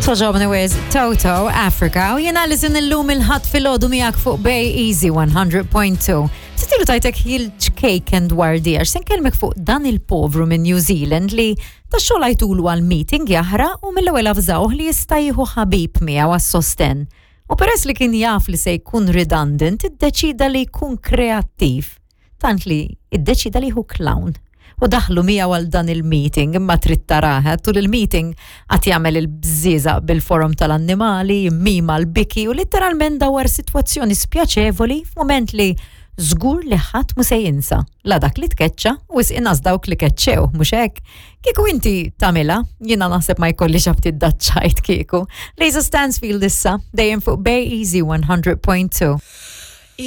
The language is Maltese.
Toġobni with Toto Africa u jena li sin illum il-ħadd filgħodu miegħek fuq Bay Easy 100.2. Sitilu tajtek ħil ċkejken dwar di għax se nkellmek fuq dan il-povru minn New Zealand li ta' xogħol għajtulu għal meeting jaħra u mill-ewwel avżawh li jista' jieħu ħabib miegħu għas-sosten. U peress li kien jaf li se jkun redundant, iddeċida li jkun kreattiv. Tant li iddeċida li jieħu clown u daħlu miegħu għal dan il-meeting imma trid taraha tul il-meeting qatt jagħmel il-bżieżaq bil-forom tal-annimali, mima l-biki u litteralment dawar sitwazzjoni spjaċevoli f'mument li żgur li ħadd mu se jinsa la dak li tkeċċa u inqas dawk li keċċew, mhux hekk? Kieku inti tagħmilha, jiena naħseb ma jkollix aptit daċċajt kieku. Lisa Stansfield issa dejjem fuq Bay Easy 100.2.